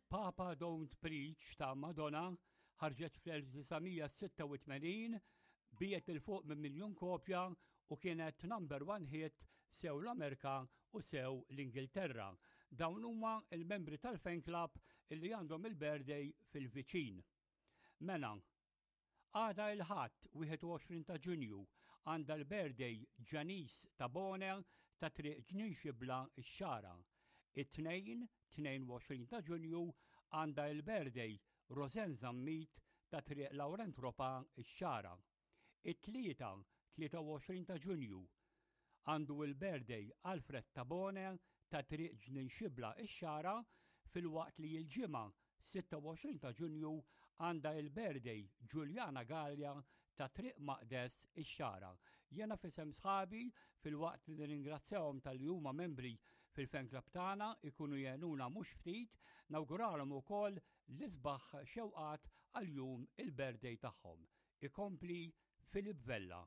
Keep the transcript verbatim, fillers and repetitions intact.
Papa Don't Preach ta' Madonna ħarġet fl-elf disa' mija sitta u tmenin, biegħet 'il fuq minn miljun kopja u kienet number one hit sew l-Amerika u sew l-Ingilterra. Dawn huma il-membri tal-fan club illi għandhom il-birthday fil-viċin. Mena, għada il-Ħadd wieħed u għoxrin ta' Ġunju għandha l-birthday Janice Tabone ta' Triq Ġnien Xibla, ix-Xagħra. It-Tnejn tnejn u għoxrin ta' Ġunju għandha il-birthday Rosen Zammit ta' Triq Laurent Ropa, ix-Xagħra. It-Tlieta tlieta u għoxrin ta' Ġunju għandu il-birthday Alfred Tabone ta' Triq Ġnien Xibla, ix-Xagħra, filwaqt li l-Ġimgħa sitta u għoxrin ta' Ġunju għandha il-birthday Giuliana Gallia ta' Triq Maqdes, ix-Xagħra. Jena f'isem sħabi, filwaqt li nirringrazzjahom talli huma membri fil-fan club tagħna, ikunu jgħinuna mhux ftit, nawguralhom ukoll l-isbaħ xewqat għal jum il-birthday tagħhom. Ikompli Filip Vella.